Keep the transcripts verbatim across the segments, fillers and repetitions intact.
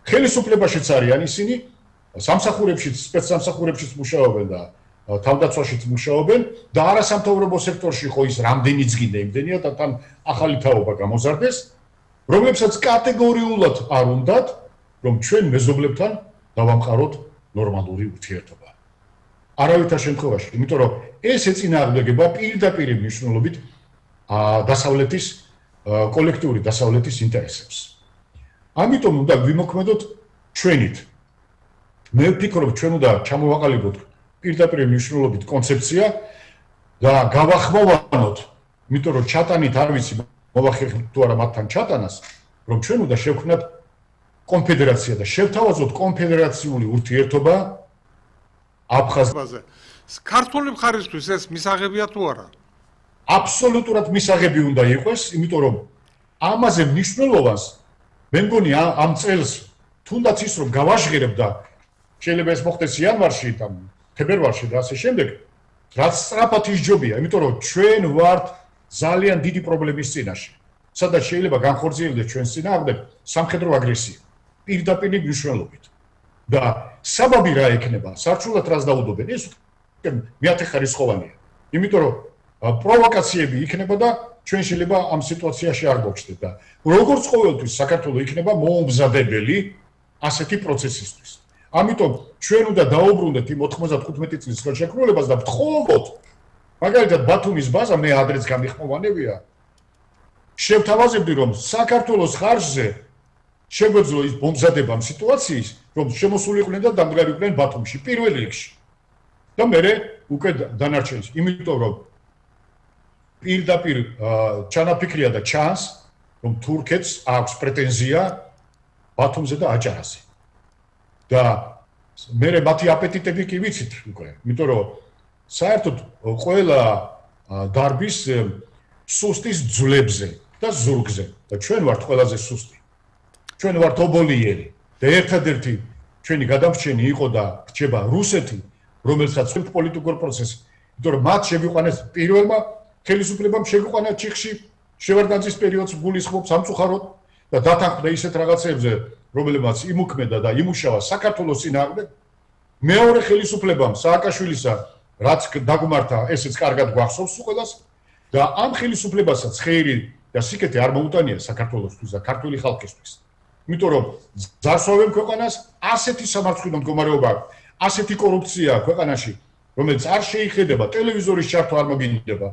ხელისუფლებაშიც არიან ისინი, სამსახურებშიც, სპეცსამსახურებშიც მუშაობენ და თავდაცვაშიც მუშაობენ და არასამთავრობო სექტორში ხო ის რამდენიც გინდა იმდენია და თან ახალი თაობა გამოზარდეს, რომლებსაც კატეგორიულად არ უნდათ, რომ ჩვენ მეზობლებთან დავამყაროთ ნორმალური ურთიერთობა. არავითარ შემთხვევაში, იმიტომ რომ ეს ეწინააღმდეგება პირდაპირ მნიშვნელობით დასავლეთის კოლექტიური დასავლეთის ინტერესებს. ამიტომ უნდა ვიმოქმედოთ ჩვენით. მე ვფიქრობ, ჩვენ უნდა ჩამოვაყალიბოთ პირდაპირ მნიშვნელობით კონცეფცია და გავახმოვანოთ, იმიტომ რომ ჩატანით არ ვიცი მოვახერხებთ თუ არა მათთან ჩატანას, რომ ჩვენ უნდა შევქმნათ კონფედერაცია და შევთავაზოთ კონფედერაციული ურთიერთობა აფხაზეთზე. ქართული მხარისთვის ეს მისაღებია თუ არა? აბსოლუტურად მისაღები უნდა იყოს, იმიტომ რომ ამაზე მნიშვნელობას მე მგონი ამ წელს თუნდაც ის რომ გავაჟღერებ და შეიძლება ეს მოხდეს იანვარში და თებერვალში და ასე შემდეგ, რაც სწრაფად ისჯობია, იმიტომ რომ ჩვენ ვართ ძალიან დიდი პრობლემის წინაშე. სადაც შეიძლება განხორციელდეს ჩვენს წინააღმდეგ სამხედრო აგრესია, პირდაპირ მნიშვნელობით. და საბაბი რა ექნება, სარჩულად რას დაუდობენ, ეს მეათეხარისხოვანია. იმიტომ რომ პროვოკაციები იქნება და ჩვენ შეიძლება ამ სიტუაციაში არ გვაჩნდეთ და როგორც ყოველთვის საქართველოს იქნება მოუმზადებელი ასეთი პროცესისთვის. ამიტომ ჩვენ უნდა დაუბრუნდეთ იმ ოთხმოცდახუთმეტი წლის ხელშეკრულებას და ვთხოვოთ, მაგალითად ბათუმის ბაზა მე ადრეც გამიხმოვანებია, შევთავაზებდი რომ საქართველოს ხარჯზე შეგვეძლო ის მომზადება ამ სიტუაციის, რომ შემოსულიყვნენ და დამდგარიყვნენ ბათუმში პირველ რიგში. და მე უკვე დანარჩენს, იმიტომ რომ პირდაპირ ჩანაფიქრია და ჩანს, რომ თურქეთს აქვს პრეტენზია ბათუმზე და აჭარაზე. და მე მათი აპეტიტები კი ვიცით უკვე, იმიტომ რომ საერთოდ ყველა დარბის სუსტის ძვლებზე და ზურგზე და ჩვენ ვართ ყველაზე სუსტი. ჩვენ ვართ ობოლიერი და ერთადერთი ჩვენი გადამრჩენი იყო და რჩება რუსეთი, რომელსაც პოლიტიკურ პროცესს, იმიტომ რომ მათ შეგვიყვანეს პირველმა ხელისუფლებამ შეგვიყვანა ჩიხში შევარდნაძის პერიოდს გულისხმობს სამწუხაროდ და დათანხმდა ისეთ რაღაცებზე, რომლებმაც იმუქმედა და იმუშავა საქართველოს წინააღმდეგ. მეორე ხელისუფლებამ სააკაშვილისა რაც დაგმართა, ესეც კარგად გვახსოვს ყველას და ამ ხელისუფლებასაც ხეირი და სიკეთე არ მოუტანია საქართველოსთვის და ქართული ხალხისთვის. იმიტომ რომ ძარსვავენ ქვეყანას, ასეთი სამართლიანო მდგომარეობა, ასეთი კორუფცია ქვეყანაში, რომელიც არ შეიხედება, ტელევიზორის ჩართვა არ მოგინდება,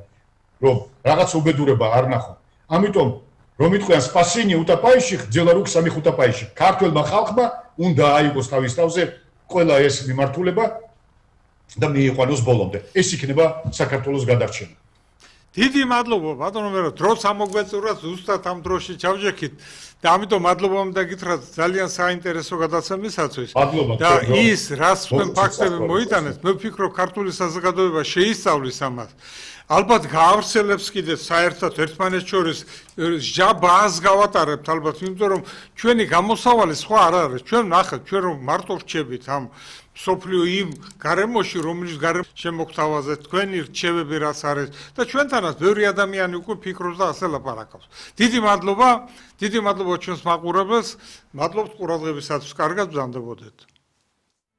რომ რაღაც უბედურება არ ნახო. ამიტომ რომ იტყვიან სპასინი უტაპაიში, ძელა რუქ სამი ხუტაპაიში. ქართულმა ხალხმა უნდა აიღოს თავის თავზე ყველა ეს მიმართულება და მიიყვანოს ბოლომდე. ეს იქნება საქართველოს გადარჩენა. დიდი მადლობა ბატონო მერო, დროც ამოგვეწურათ ზუსტად ამ დროში ჩავჯექით და ამიტომ მადლობა უნდა გითხრათ ძალიან საინტერესო გადაცემისათვის. და ის რას თქვენ ფაქტები მოიტანეთ, მე ვფიქრობ ქართული საზოგადოება შეისწავლის ამას. ალბათ გაავრცელებს კიდე საერთოდ ერთმანეთს შორის ჟაბას გავატარებთ ალბათ, იმიტომ რომ ჩვენი გამოსავალი სხვა არ არის. ჩვენ ნახეთ, ჩვენ რომ მარტო რჩებით ამ სოფლიო იმ გარემოში, რომელიც გარემო შემოგთავაზეთ, თქვენი რჩევები რაც არის და ჩვენთანაც ბევრი ადამიანი უკვე ფიქრობს და ასე ლაპარაკობს. დიდი მადლობა, დიდი მადლობა ჩვენს მაყურებელს, მადლობთ ყურადღებისათვის, კარგად ვზამდებოდეთ.